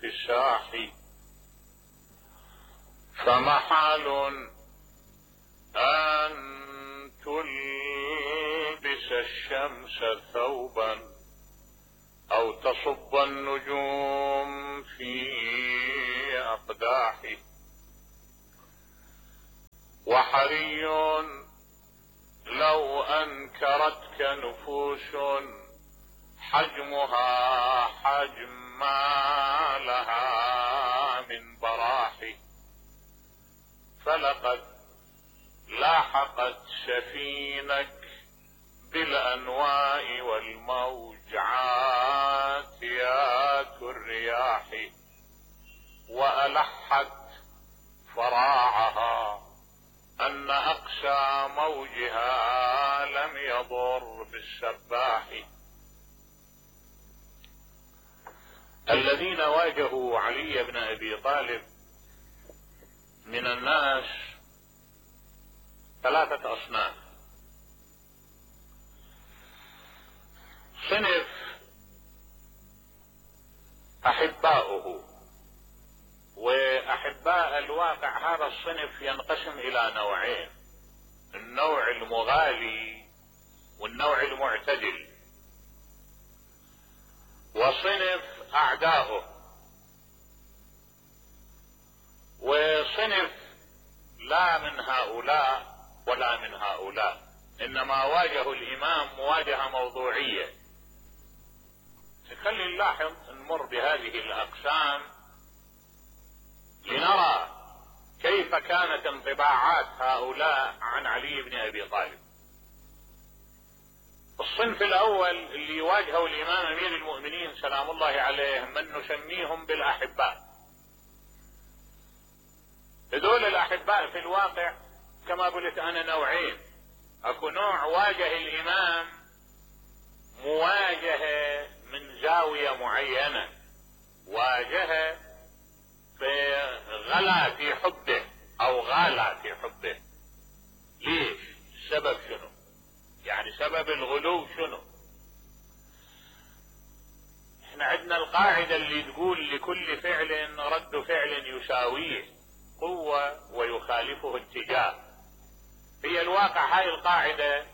الفساح، فمحال أن تلبس الشمس ثوبا أو تصب النجوم في أقداح، وحري لو أنكرتك نفوس حجمها حجم ما لها من براح، فلقد لاحقت سفينك بالأنواء والموج عاتيات الرياح، وألحت فراعها أن أقسى موجها لم يضر بالسباح. الذين واجهوا علي بن أبي طالب من الناس ثلاثة أصناف. صنف أحباؤه، وأحباء الواقع هذا الصنف ينقسم إلى نوعين: النوع المغالي والنوع المعتدل. وصنف أعداؤه، وصنف لا من هؤلاء ولا من هؤلاء، إنما واجهوا الإمام مواجهة موضوعية. خلي نلاحظ نمر بهذه الأقسام لنرى كيف كانت انطباعات هؤلاء عن علي بن أبي طالب. الصنف الأول اللي يواجهوا الإمام أمير المؤمنين سلام الله عليه من نسميهم بالأحباء. هذول الأحباء في الواقع كما قلت أنا نوعين: أكو نوع واجه الإمام مواجهة من زاوية معينة، واجهه غلا في حبه أو غالى في حبه. ليش؟ السبب شنو؟ يعني سبب الغلو شنو؟ احنا عندنا القاعدة اللي تقول لكل فعل رد فعل يساويه قوة ويخالفه اتجاه. هي الواقع هاي القاعدة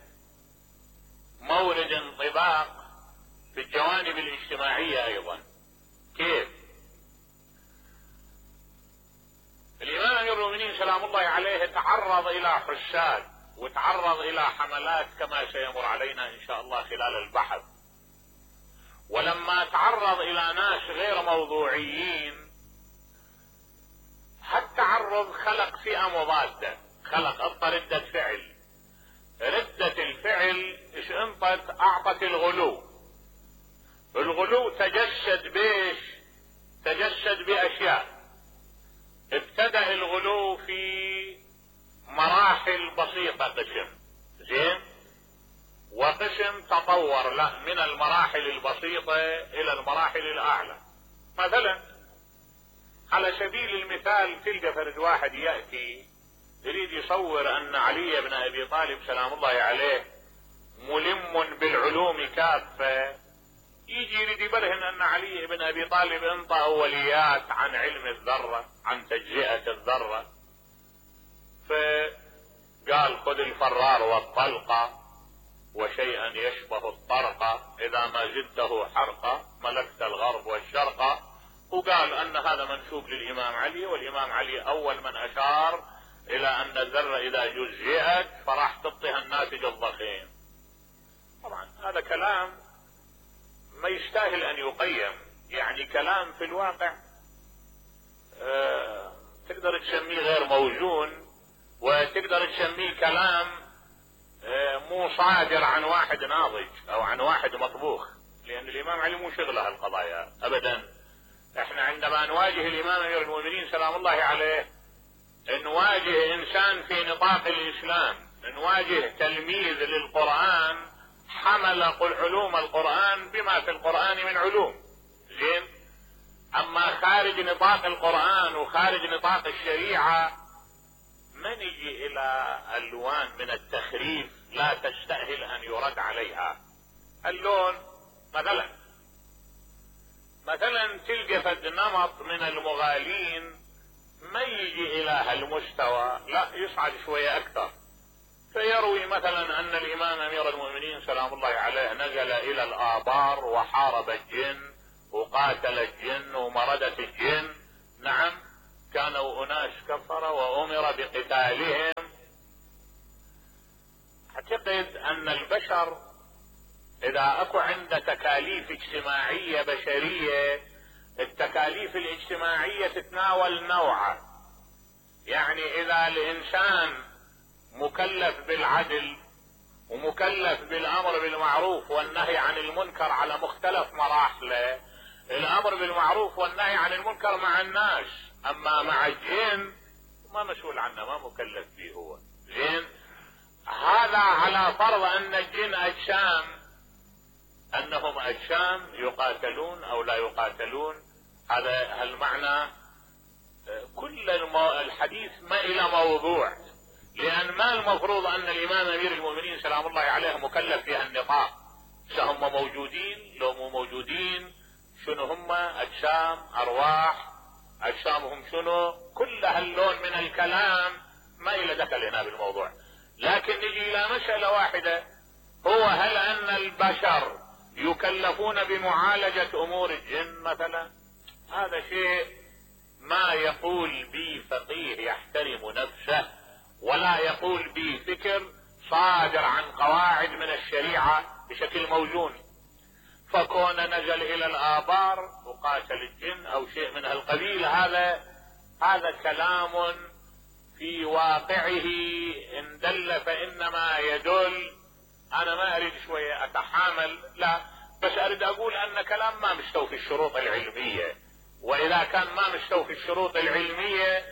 مورد انطباق في الجوانب الاجتماعية ايضا. كيف؟ الامام امير المؤمنين سلام الله عليه تعرض الى حساد وتعرض الى حملات كما سيمر علينا ان شاء الله خلال البحث. ولما تعرض الى ناس غير موضوعيين، هالتعرض خلق فئة مضادة، خلق ردة فعل. ردة الفعل ايش انطت؟ اعطت الغلو. الغلو تجسد بيش؟ تجسد باشياء. ابتدأ الغلو في مراحل بسيطة قسم، زين، وقسم تطور لا من المراحل البسيطة الى المراحل الاعلى. مثلا على سبيل المثال تلقى فرد واحد يأتي يريد يصور ان علي بن ابي طالب سلام الله عليه ملم بالعلوم كافة، يجي يريد يبرهن ان علي بن ابي طالب انطى اوليات عن علم الذرة، عن تجزئة الذرة، فقال خذ الفرار والطلقة وشيئا يشبه الطرقة، اذا ما زدته حرقة ملكت الغرب والشرق. وقال ان هذا منسوب للامام علي، والامام علي اول من اشار الى ان الذرة اذا جزئت فراح تعطيها الناتج الضخيم. طبعا هذا كلام ما يستاهل ان يقيم، يعني كلام في الواقع تقدر تسميه غير موزون، وتقدر تسميه كلام مو صادر عن واحد ناضج او عن واحد مطبوخ، لان الامام علي مو شغله هالقضايا ابدا. احنا عندما نواجه الامام امير المؤمنين سلام الله عليه نواجه انسان في نطاق الاسلام، نواجه تلميذ للقرآن حمل علوم القرآن بما في القرآن من علوم، زين. اما خارج نطاق القرآن وخارج نطاق الشريعة ما نجي الى الوان من التخريف لا تستأهل ان يرد عليها. اللون مثلا مثلا تلقى فد نمط من المغالين ما يجي الى هالمستوى، لا يصعد شوية اكثر، فيروي مثلا ان الامام امير المؤمنين سلام الله عليه نزل الى الابار وحارب الجن وقاتل الجن ومردة الجن. نعم، كانوا اناس كفر وامر بقتالهم. اعتقد ان البشر اذا اكو عنده تكاليف اجتماعية بشرية، التكاليف الاجتماعية تتناول نوعه. يعني اذا الانسان مكلف بالعدل ومكلف بالامر بالمعروف والنهي عن المنكر على مختلف مراحله، الامر بالمعروف والنهي عن المنكر مع الناس، اما مع الجن ما مسؤول عنه، ما مكلف به هو. زين، هذا على فرض ان الجن اجسام، انهم اجسام يقاتلون او لا يقاتلون. هذا المعنى كل الحديث ما الى موضوع، لان ما المفروض ان الامام امير المؤمنين سلام الله عليه مكلف في هالنطاق. هم موجودين لو مو موجودين، شنو هم؟ اجسام، ارواح، اجسامهم شنو؟ كل هاللون من الكلام ما الى دخل هنا بالموضوع. لكن نجي الى مسألة واحدة، هو هل ان البشر يكلفون بمعالجة امور الجن مثلا؟ هذا شيء ما يقول به فقيه يحترم نفسه، ولا يقول به فكر صادر عن قواعد من الشريعة بشكل موزون. فكون نزل الى الابار وقاتل الجن او شيء من هالقبيل، هذا كلام في واقعه ان دل فانما يدل. انا ما اريد شوية اتحامل، لا، بس اريد اقول ان كلام ما مستوفي الشروط العلمية، واذا كان ما مستوفي الشروط العلمية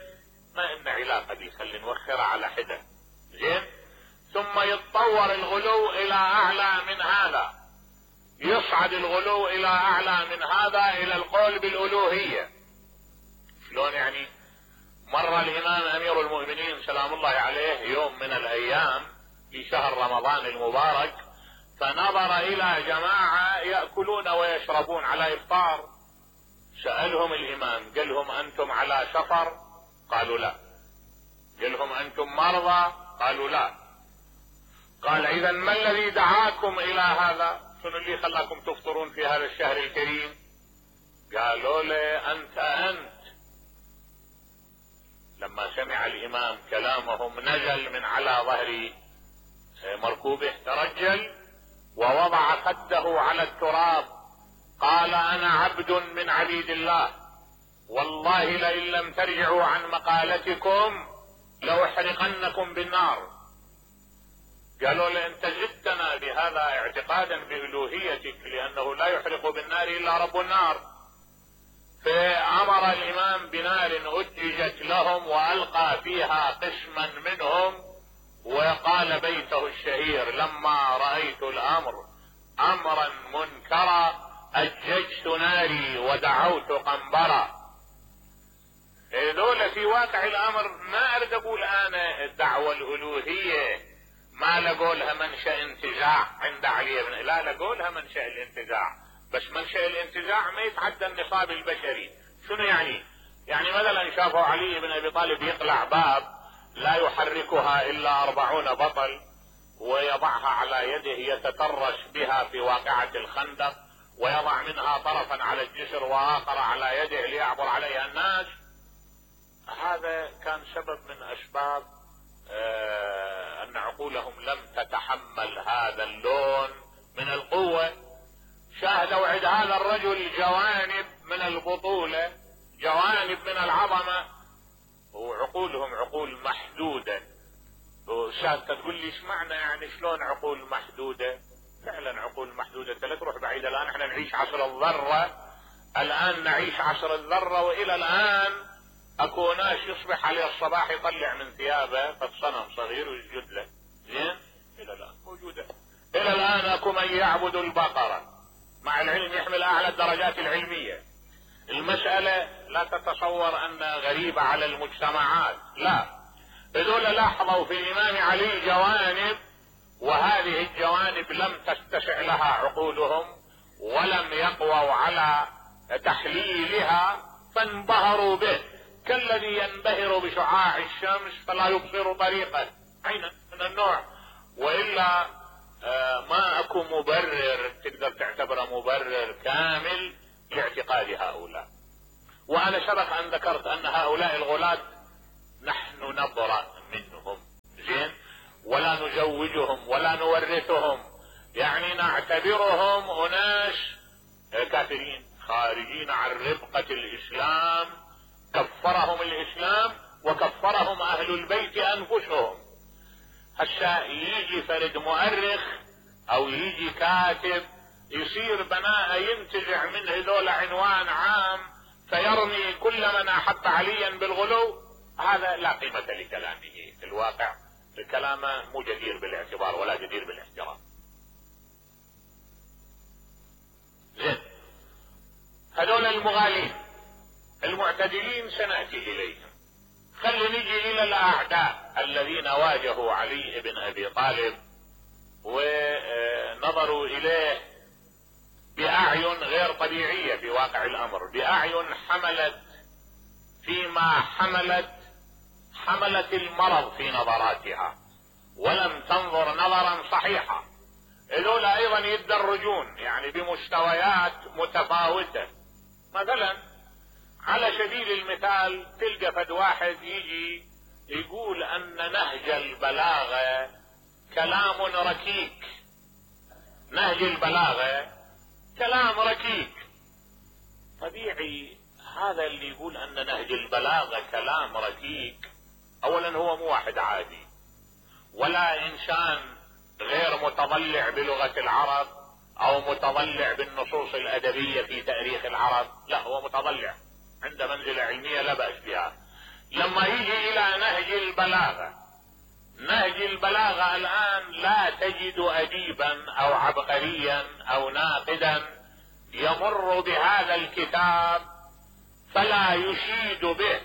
ما ان علاقة دي، خلي نوخرها على حدة. زين، ثم يتطور الغلو الى اعلى من هذا، يصعد الغلو الى اعلى من هذا الى القول بالالوهية. شلون يعني؟ مر الامام امير المؤمنين سلام الله عليه يوم من الايام في شهر رمضان المبارك، فنظر الى جماعة يأكلون ويشربون على افطار. سألهم الامام، قال لهم انتم على سفر؟ قالوا لا. قال لهم انتم مرضى؟ قالوا لا. قال اذا ما الذي دعاكم الى هذا؟ شنو اللي خلاكم تفطرون في هذا الشهر الكريم؟ قالوا له انت. لما سمع الامام كلامهم نزل من على ظهر مركوبه، ترجل ووضع خده على التراب، قال انا عبد من عبيد الله، والله لئن لم ترجعوا عن مقالتكم لاحرقنكم بالنار. قالوا له انت زدتنا بهذا اعتقادا بألوهيتك، لانه لا يحرق بالنار الا رب النار. فامر الامام بنار اججت لهم والقى فيها قسما منهم، وقال بيته الشهير لما رأيت الامر امرا منكرا اججت ناري ودعوت قنبرا. هذول في واقع الامر ما اريد اقول انا الدعوة الالوهية ما لقولها منشأ انتزاع عند علي بن، لا لقولها منشأ الانتزاع، بس منشأ الانتزاع ما يتعدى النصاب البشري. شنو يعني؟ يعني مثلا شافوا علي بن ابي طالب يقلع باب لا يحركها الا 40 بطل ويضعها على يده يتترس بها في واقعة الخندق، ويضع منها طرفا على الجسر واخر على يده ليعبر عليها الناس. هذا كان سبب من اسباب ان عقولهم لم تتحمل هذا اللون من القوة. شاهدوا عند هذا الرجل جوانب من البطولة، جوانب من العظمة، وعقولهم عقول محدودة. وشاهدت تقول لي ايش معنى يعني شلون عقول محدودة؟ فعلا عقول محدودة. لا تروح بعيد، الان احنا نعيش عصر الذرة، الان نعيش عصر الذرة، والى الان اكو ناس يصبح عليه الصباح يطلع من ثيابه فصنم صغير ويسجد له. زين، الى الان موجودة. الى الان اكو من يعبد البقرة مع العلم يحمل اعلى الدرجات العلمية. المسألة لا تتصور انها غريبة على المجتمعات، لا، هذول لاحظوا في الامام علي جوانب، وهذه الجوانب لم تتسع لها عقولهم ولم يقووا على تحليلها فانبهروا به كالذي ينبهر بشعاع الشمس فلا يبصر طريقه. عينا من النوع. والا ما اكو مبرر تقدر تعتبره مبرر كامل لاعتقاد هؤلاء. وانا سبق ان ذكرت ان هؤلاء الغلاة نحن نبرأ منهم، زين، ولا نزوجهم ولا نورثهم، يعني نعتبرهم اناس كافرين خارجين عن ربقة الاسلام، كفرهم الاسلام وكفرهم اهل البيت انفسهم. هسا يجي فرد مؤرخ او يجي كاتب يصير بناء ينتزع من هذول عنوان عام فيرمي كل من احب عليا بالغلو، هذا لا قيمة لكلامه في الواقع، الكلام مو جدير بالاعتبار ولا جدير بالاحترام. زين، هذول المغالين المعتدلين سنأتي اليهم. خلي نجي الى الاعداء الذين واجهوا علي بن ابي طالب ونظروا اليه باعين غير طبيعية في واقع الامر، باعين حملت فيما حملت المرض في نظراتها ولم تنظر نظرا صحيحا. هذول ايضا يتدرجون يعني بمستويات متفاوتة. مثلا على سبيل المثال تلقى فد واحد يجي يقول ان نهج البلاغة كلام ركيك، نهج البلاغة كلام ركيك. طبيعي هذا اللي يقول ان نهج البلاغة كلام ركيك اولا هو مو واحد عادي ولا انسان غير متضلع بلغة العرب او متضلع بالنصوص الادبية في تاريخ العرب، لا هو متضلع عنده منزلة علمية لا بأس بها. لما يجي الى نهج البلاغة، نهج البلاغة الان لا تجد اديبا او عبقريا او ناقدا يمر بهذا الكتاب فلا يشيد به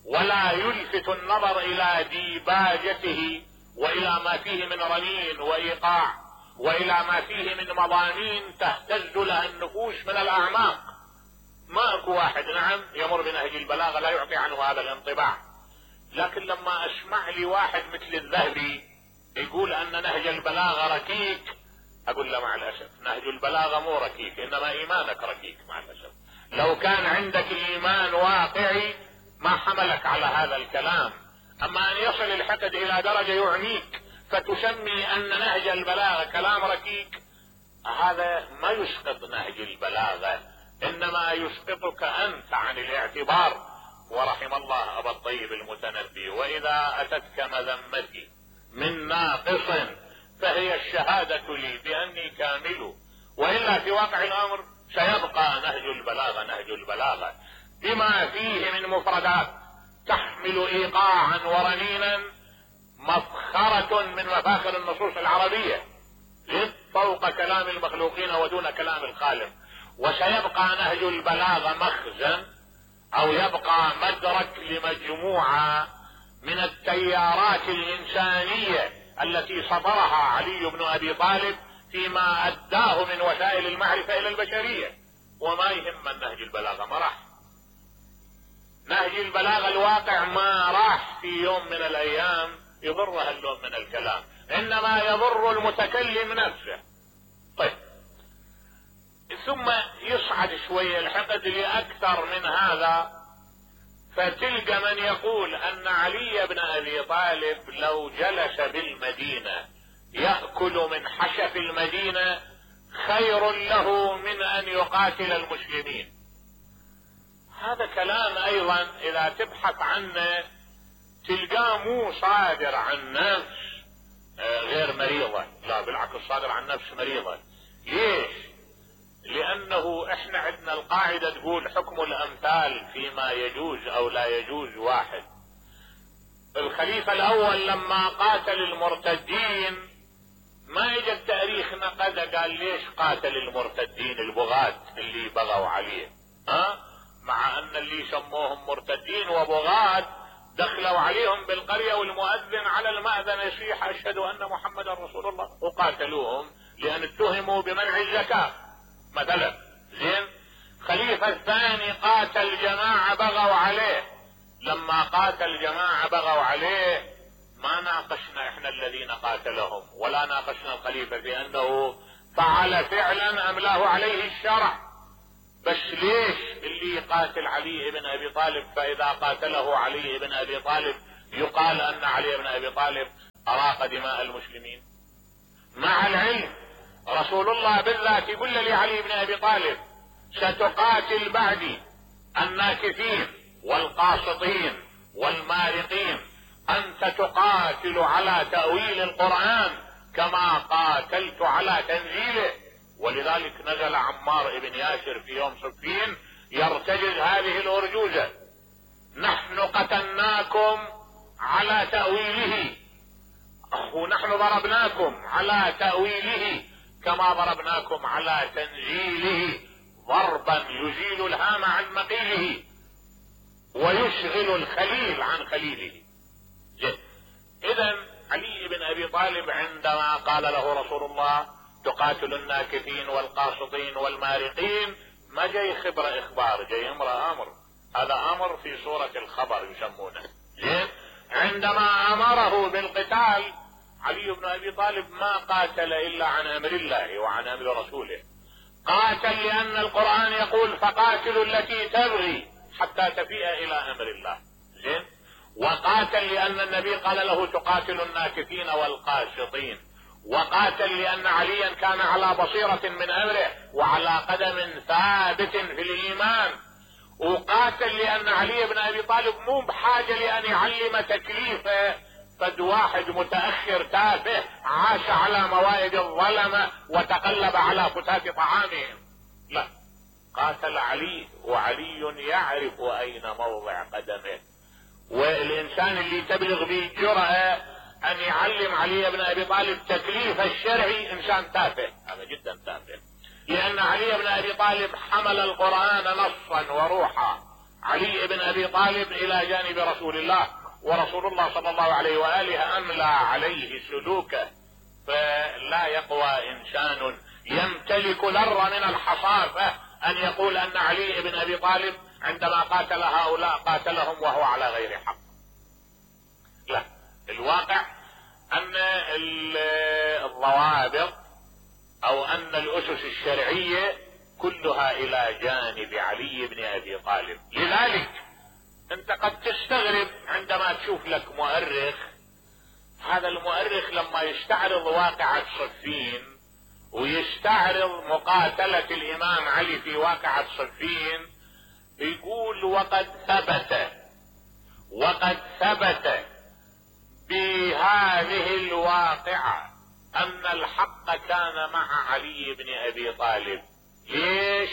ولا يلفت النظر الى ديباجته والى ما فيه من رنين وايقاع والى ما فيه من مضامين تهتز لها النفوس من الاعماق. ما اكو واحد نعم يمر بنهج البلاغة لا يعطي عنه هذا الانطباع. لكن لما اسمع لي واحد مثل الذهبي يقول ان نهج البلاغة ركيك، اقول له مع الاسف نهج البلاغة مو ركيك، انما ايمانك ركيك مع الاسف. لو كان عندك ايمان واقعي ما حملك على هذا الكلام. اما ان يصل الحقد الى درجة يعنيك فتسمي ان نهج البلاغة كلام ركيك، هذا ما يسقط نهج البلاغة، انما يسقطك انت عن الاعتبار. ورحم الله ابا الطيب المتنبي: واذا اتتك مذمتي من ناقص فهي الشهادة لي باني كامل. والا في واقع الامر سيبقى نهج البلاغة نهج البلاغة بما فيه من مفردات تحمل ايقاعا ورنينا مفخرة من مفاخر النصوص العربية فوق كلام المخلوقين ودون كلام الخالق. وسيبقى نهج البلاغة مخزن او يبقى مدرك لمجموعة من التيارات الانسانية التي صدرها علي بن ابي طالب فيما اداه من وسائل المعرفة الى البشرية. وما يهم النهج البلاغة، ما راح نهج البلاغة الواقع ما راح في يوم من الايام يضرها اللون من الكلام، انما يضر المتكلم نفسه. طيب، ثم يصعد شوية الحقد لأكثر من هذا، فتلقى من يقول أن علي بن أبي طالب لو جلس بالمدينة يأكل من حشف المدينة خير له من أن يقاتل المسلمين. هذا كلام أيضا إذا تبحث عنه تلقاه مو صادر عن نفس غير مريضة، لا بالعكس صادر عن نفس مريضة. ليش؟ لانه احنا عندنا القاعدة تقول حكم الامثال فيما يجوز او لا يجوز واحد. الخليفة الاول لما قاتل المرتدين ما اجى التاريخ نقد قال ليش قاتل المرتدين البغاة اللي بغوا عليه، مع ان اللي سموهم مرتدين وبغاة دخلوا عليهم بالقرية والمؤذن على المأذن يصيح اشهد ان محمدا رسول الله وقاتلوهم لان اتهموا بمنع الزكاة مثلا. زين، خليفة الثاني قاتل جماعة بغوا عليه، لما قاتل جماعة بغوا عليه ما ناقشنا احنا الذين قاتلهم ولا ناقشنا الخليفة في انه فعل فعلا املاه عليه الشرع، بس ليش اللي يقاتل علي بن ابي طالب فاذا قاتله علي بن ابي طالب يقال ان علي بن ابي طالب اراق دماء المسلمين؟ مع العلم رسول الله بالذات يقول لعلي بن ابي طالب ستقاتل بعدي الناكثين والقاسطين والمارقين، انت تقاتل على تأويل القرآن كما قاتلت على تنزيله. ولذلك نزل عمار بن ياسر في يوم صفين يرتجز هذه الارجوزة: نحن قتلناكم على تأويله ونحن ضربناكم على تأويله كما ضربناكم على تنزيله، ضربا يزيل الهام عن مقيله ويشغل الخليل عن خليله. اذا علي بن ابي طالب عندما قال له رسول الله تقاتل الناكثين والقاسطين والمارقين ما جاي خبر اخبار، جاي امر، هذا امر في صورة الخبر يسمونه. عندما امره بالقتال علي بن ابي طالب ما قاتل الا عن امر الله وعن امر رسوله، قاتل لان القرآن يقول فقاتلوا التي تبغي حتى تفيء الى امر الله، زين، وقاتل لان النبي قال له تقاتل الناكثين والقاسطين، وقاتل لان عليا كان على بصيرة من امره وعلى قدم ثابت في الايمان، وقاتل لان علي بن ابي طالب مو بحاجة لان يعلم تكليفه فد واحد متأخر تافه عاش على موائد الظلمة وتقلب على فتات طعامهم، لا، قاتل علي وعلي يعرف اين موضع قدمه. والانسان اللي تبلغ به الجرأة ان يعلم علي بن ابي طالب تكليف الشرعي انسان تافه، هذا جدا تافه، لان علي بن ابي طالب حمل القرآن نصا وروحا. علي بن ابي طالب الى جانب رسول الله، ورسول الله صلى الله عليه وآله املى عليه سلوكه، فلا يقوى انسان يمتلك ذرة من الحصافة ان يقول ان علي بن ابي طالب عندما قاتل هؤلاء قاتلهم وهو على غير حق. لا، الواقع ان الضوابط او ان الاسس الشرعية كلها الى جانب علي بن ابي طالب. لذلك انت قد تستغرب عندما تشوف لك مؤرخ، هذا المؤرخ لما يستعرض واقعة صفين ويستعرض مقاتلة الامام علي في واقعة صفين يقول وقد ثبت بهذه الواقعة ان الحق كان مع علي بن ابي طالب. ليش؟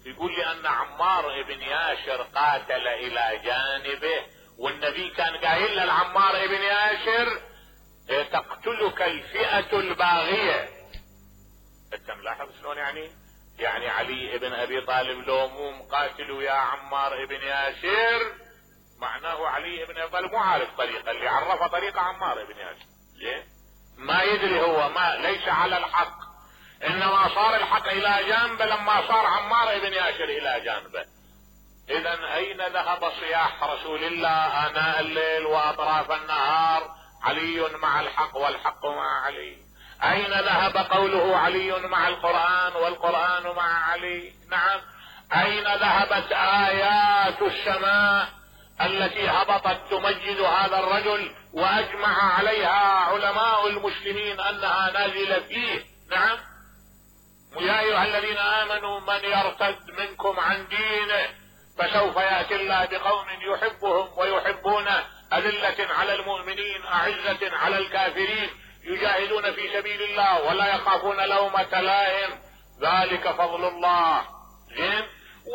يقول لان عمار بن ياسر قاتل الى جانبه، والنبي كان قايل لعمار بن ياسر تقتلك الفئة الباغية. انت ملاحظ شلون يعني علي بن ابي طالب لو مو مقاتل يا عمار بن ياسر معناه علي بن ابي طالب مو عارف طريقة، اللي عرفه طريقة عمار بن ياسر، ليه؟ ما يدري هو، ما ليس على الحق، انما صار الحق الى جانبه لما صار عمار بن ياسر الى جانبه. اذا اين ذهب صياح رسول الله اناء الليل واطراف النهار علي مع الحق والحق مع علي؟ اين ذهب قوله علي مع القرآن والقرآن مع علي؟ نعم، اين ذهبت ايات السماء التي هبطت تمجد هذا الرجل واجمع عليها علماء المسلمين انها نازلة فيه؟ نعم، يا ايها الذين امنوا من يرتد منكم عن دينه فسوف يأتي الله بقوم يحبهم ويحبونه أذلة على المؤمنين أعزة على الكافرين يجاهدون في سبيل الله ولا يخافون لومة لائم ذلك فضل الله. زين،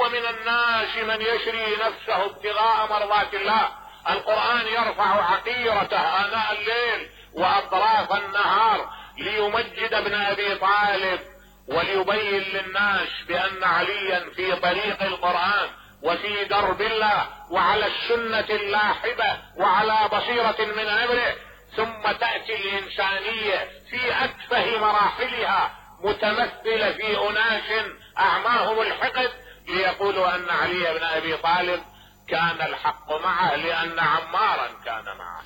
ومن الناس من يشري نفسه ابتغاء مرضات الله. القرآن يرفع عقيرته آناء الليل وأطراف النهار ليمجد ابن أبي طالب وليبين للناس بأن عليا في طريق القرآن وفي درب الله وعلى السنة اللاحبة وعلى بصيرة من أمره. ثم تأتي الإنسانية في أتفه مراحلها متمثلة في أناس أعماهم الحقد ليقولوا ان علي بن ابي طالب كان الحق معه لان عمارا كان معه.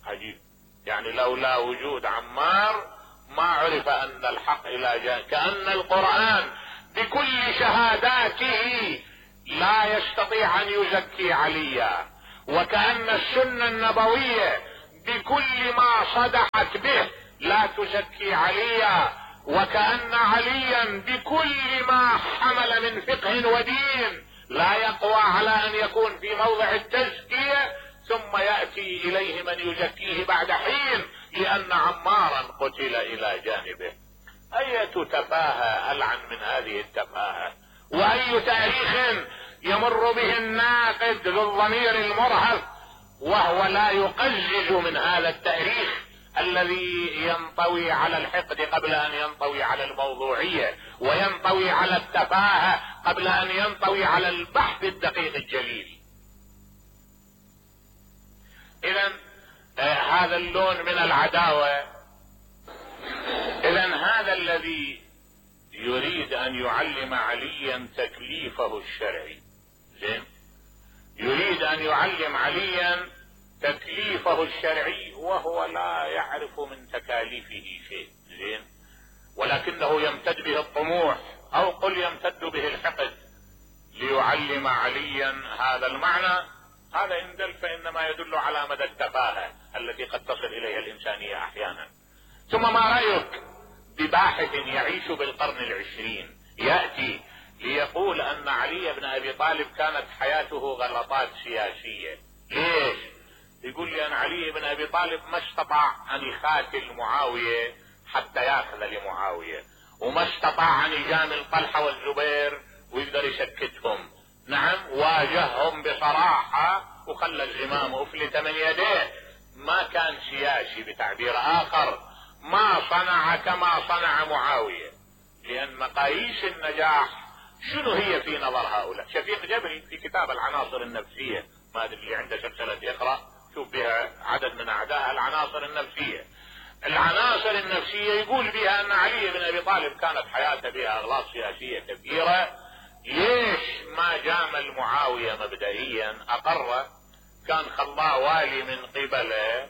عجيب، يعني لولا وجود عمار ما عرف ان الحق الى جانب. كأن القرآن بكل شهاداته لا يستطيع ان يزكي عليا، وكأن السنة النبوية بكل ما صدحت به لا تزكي عليا، وكأن عليا بكل ما حمل من فقه ودين لا يقوى على ان يكون في موضع التزكية، ثم يأتي اليه من يزكيه بعد حين لان عمارا قتل الى جانبه. اية تفاهة العن من هذه التفاهة، واي تاريخ يمر به الناقد ذو الضمير المرهف وهو لا يقزز من هذا التاريخ الذي ينطوي على الحقد قبل ان ينطوي على الموضوعية، وينطوي على التفاهة قبل ان ينطوي على البحث الدقيق الجليل. اذا هذا اللون من العداوة. اذا هذا الذي يريد ان يعلم عليا تكليفه الشرعي، زين، يريد ان يعلم عليا تكليفه الشرعي وهو لا يعرف من تكاليفه شيء، زين، ولكنه يمتد به الطموح او قل يمتد به الحقد ليعلم عليا هذا المعنى. هذا ان دل فانما يدل على مدى التفاهة التي قد تصل اليها الانسانية احيانا. ثم ما رأيك بباحث يعيش بالقرن العشرين يأتي ليقول ان علي بن ابي طالب كانت حياته غلطات سياسية؟ ليش؟ يقول لي ان علي بن ابي طالب ما استطاع ان يخاتل معاوية حتى ياخذ لمعاوية، وما استطاع ان يجامل طلحة والزبير ويقدر يسكتهم. نعم، واجههم بصراحة وخلى الزمام افلت من يديه. ما كان سياسي، بتعبير اخر ما صنع كما صنع معاوية، لان مقاييس النجاح شنو هي في نظر هؤلاء؟ شفيق جبري في كتاب العناصر النفسية، ما ادري اللي عنده سلسلة يقرأ شوف بها عدد من اعدائها العناصر النفسية. العناصر النفسية يقول بها ان علي بن ابي طالب كانت حياته بها اغلاط سياسية كثيرة. ليش ما جامل معاوية مبدئيا؟ اقره، كان خلاه والي من قبله،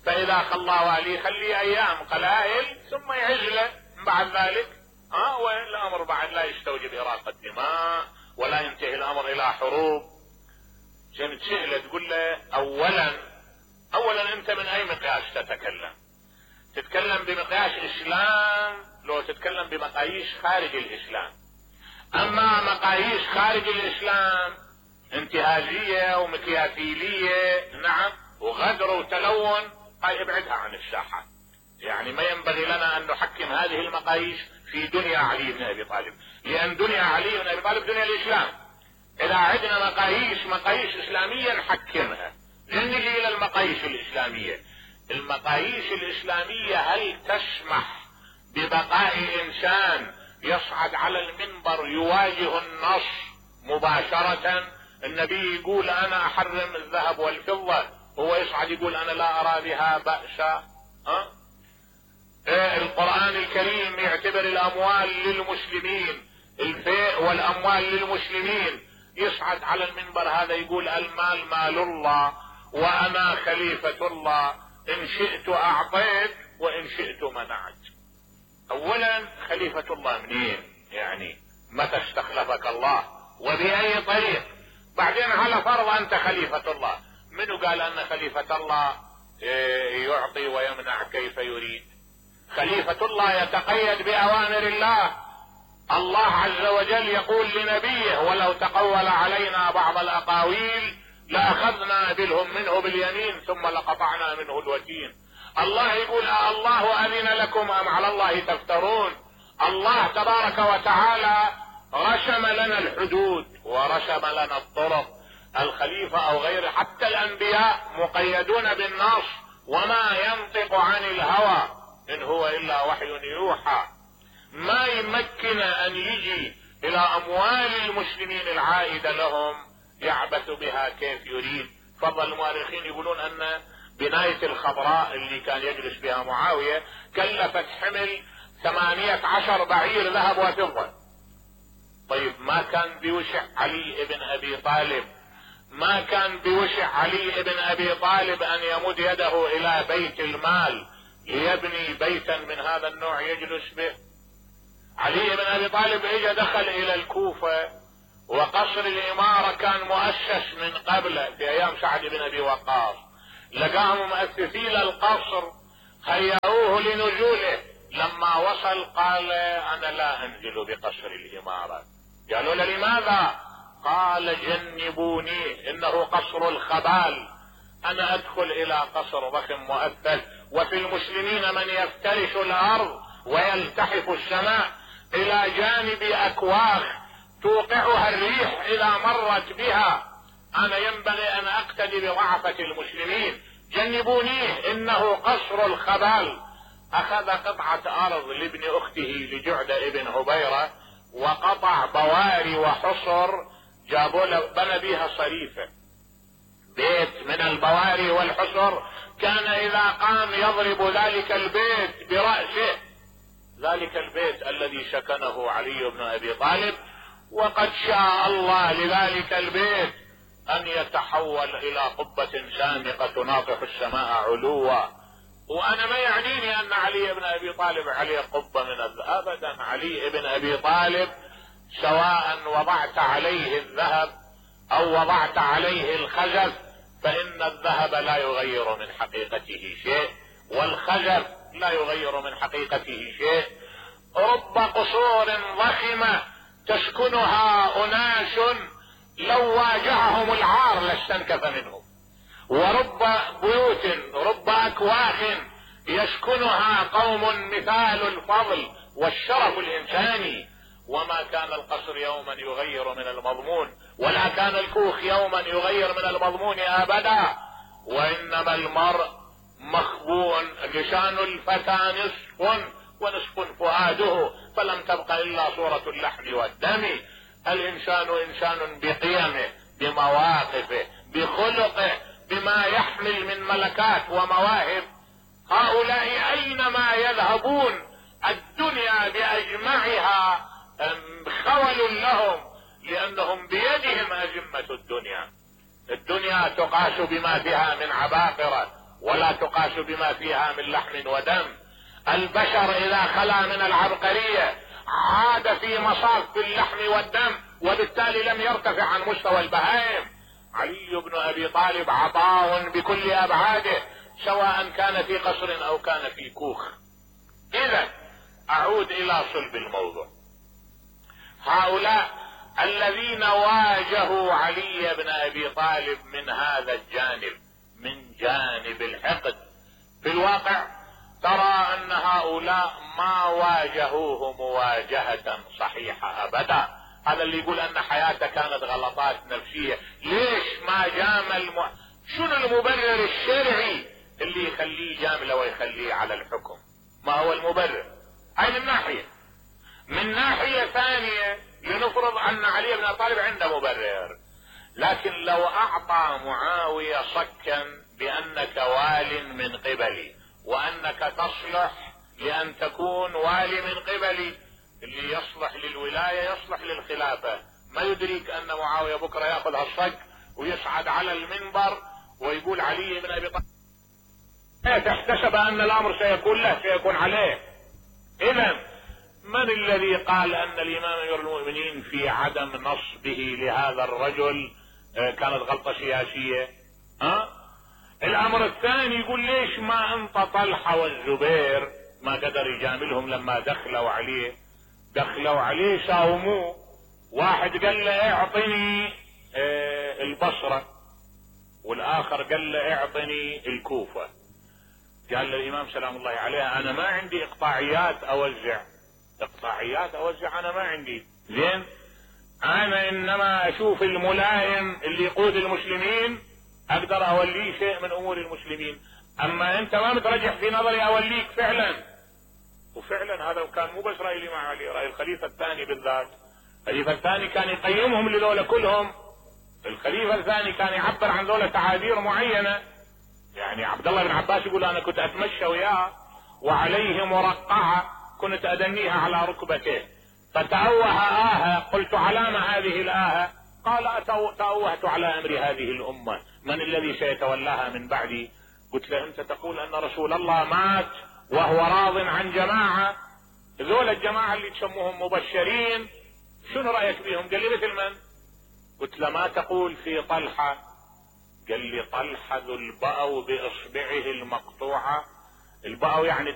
فاذا خلاه والي خليه ايام قلائل ثم يعزله بعد ذلك، والامر بعد لا يستوجب اراقة دماء ولا ينتهي الامر الى حروب. عشان تسأله تقول له اولا انت من اي مقياس تتكلم؟ تتكلم بمقياس اسلام لو تتكلم بمقاييس خارج الاسلام؟ اما مقاييس خارج الاسلام انتهازية ومكيافيلية، نعم، وغدر وتلون، هاي ابعدها عن الساحة. يعني ما ينبغي لنا ان نحكم هذه المقاييس في دنيا علي بن ابي طالب، لان دنيا علي بن ابي طالب دنيا الاسلام. اذا عندنا مقاييس اسلامية نحكمها. نجي الى المقاييس الاسلامية. المقاييس الاسلامية هل تسمح ببقاء انسان يصعد على المنبر يواجه النص مباشرة؟ النبي يقول انا احرم الذهب والفضة، هو يصعد يقول انا لا ارى بها بأسا. القرآن الكريم يعتبر الاموال للمسلمين، الفيء والاموال للمسلمين، يصعد على المنبر هذا يقول المال مال الله وانا خليفة الله، ان شئت اعطيت وان شئت منعت. اولا خليفة الله منين؟ يعني متى استخلفك الله وبأي طريق؟ بعدين على فرض انت خليفة الله، منو قال ان خليفة الله يعطي ويمنع كيف يريد؟ خليفة الله يتقيد بأوامر الله. الله عز وجل يقول لنبيه ولو تقول علينا بعض الأقاويل لأخذنا منه باليمين ثم لقطعنا منه الوتين. الله يقول الله أذن لكم أم على الله تفترون؟ الله تبارك وتعالى رسم لنا الحدود ورسم لنا الطرق. الخليفة أو غيره حتى الأنبياء مقيدون بالنص، وما ينطق عن الهوى إن هو إلا وحي يوحى. ما يمكن أن يجي إلى أموال المسلمين العائدة لهم يعبث بها كيف يريد. فضل المؤرخين يقولون أن بناية الخضراء اللي كان يجلس بها معاوية كلفت حمل 18 بعير ذهب وفضة. طيب ما كان بوشع علي ابن ابي طالب، ما كان بوشع علي ابن ابي طالب ان يمد يده الى بيت المال ليبني بيتا من هذا النوع يجلس به؟ علي بن ابي طالب اجى دخل الى الكوفة، وقصر الامارة كان مؤسس من قبل في ايام سعد بن ابي وقاص، لقاهم مؤسسين القصر خيروه لنزوله، لما وصل قال انا لا انزل بقصر الامارة. قالوا له لماذا؟ قال جنبوني انه قصر الخبال، انا ادخل الى قصر ضخم مؤثث، وفي المسلمين من يفترش الارض ويلتحف السماء الى جانب اكواخ توقعها الريح اذا مرت بها، انا ينبغي ان اقتدي بضعفة المسلمين، جنبونيه انه قصر الخبال. اخذ قطعة ارض لابن اخته لجعدة ابن هبيرة، وقطع بواري وحصر، جابوا له بنى بيها صريفة، بيت من البواري والحصر، كان اذا قام يضرب ذلك البيت برأسه، ذلك البيت الذي سكنه علي بن ابي طالب، وقد شاء الله لذلك البيت ان يتحول الى قبة سامقة تناطح السماء علوا. وانا ما يعنيني ان علي بن ابي طالب عليه قبة من الذهب، ابدا، علي بن ابي طالب سواء وضعت عليه الذهب او وضعت عليه الخزف، فان الذهب لا يغير من حقيقته شيء، والخزف لا يغير من حقيقته شيء. رب قصور ضخمة تسكنها اناس لو واجههم العار لاستنكف منهم، ورب بيوت، رب اكواخ يسكنها قوم مثال الفضل والشرف الانساني، وما كان القصر يوما يغير من المضمون، ولا كان الكوخ يوما يغير من المضمون ابدا، وانما المرء مخبوء، لسان الفتى نصف ونصف فؤاده، فلم تبق الا صورة اللحم والدم. الانسان انسان بقيمه، بمواقفه، بخلقه، بما يحمل من ملكات ومواهب. هؤلاء اينما يذهبون الدنيا باجمعها خول لهم، لانهم بيدهم ازمة الدنيا. الدنيا تقاس بما فيها من عباقرة، ولا تقاس بما فيها من لحم ودم. البشر اذا خلا من العبقرية عاد في مصاف اللحم والدم، وبالتالي لم يرتفع عن مستوى البهائم. علي بن ابي طالب عطاء بكل ابعاده، سواء كان في قصر او كان في كوخ. اذا اعود الى صلب الموضوع، هؤلاء الذين واجهوا علي بن ابي طالب من هذا الجانب، من جانب الحقد، في الواقع ترى ان هؤلاء ما واجهوه مواجهة صحيحة ابدا. هذا اللي يقول ان حياته كانت غلطات نفسية، ليش ما جامل شنو المبرر الشرعي اللي يخليه جامله ويخليه على الحكم؟ ما هو المبرر؟ هاي من ناحية. من ناحية ثانية لنفرض ان علي بن ابي طالب عنده مبرر، لكن لو اعطى معاوية صكا بانك وال من قبلي، وانك تصلح لان تكون والي من قبلي، اللي يصلح للولاية يصلح للخلافة، ما يدريك ان معاوية بكرة ياخذ هالصك ويصعد على المنبر ويقول علي بن ابي طالب احتسب ان الامر سيكون له، سيكون عليه. اذا من الذي قال ان الامام امير المؤمنين في عدم نصبه لهذا الرجل كانت غلطة سياسية؟ الامر الثاني يقول ليش ما انت طلحة والزبير ما قدر يجاملهم لما دخلوا عليه ساوموه. واحد قال له اعطني البصرة، والاخر قال له اعطني الكوفة. قال للامام سلام الله عليه انا ما عندي اقطاعيات اوزع، انا ما عندي، زين، انا انما اشوف الملائم اللي يقود المسلمين اقدر اوليه شيء من امور المسلمين، اما انت ما مترجح في نظري اوليك فعلا. وفعلا هذا كان مو بس راي مع علي، راي الخليفة الثاني بالذات. الخليفة الثاني كان يقيمهم لذولا كلهم، الخليفة الثاني كان يعبر عن ذولا تعابير معينة. يعني عبد الله بن عباس يقول انا كنت اتمشى وياه وعليه مرقعة كنت ادنيها على ركبته، فتأوه قلت علام هذه الآهة؟ قال تأوهت على امر هذه الامة، من الذي سيتولاها من بعدي؟ قلت له انت تقول ان رسول الله مات وهو راض عن جماعة، ذول الجماعة اللي تسموهم مبشرين شنو رأيك بهم؟ قال لي مثل من؟ قلت له ما تقول في طلحة؟ قال لي طلحة ذو البأو باصبعه المقطوعة. البأو يعني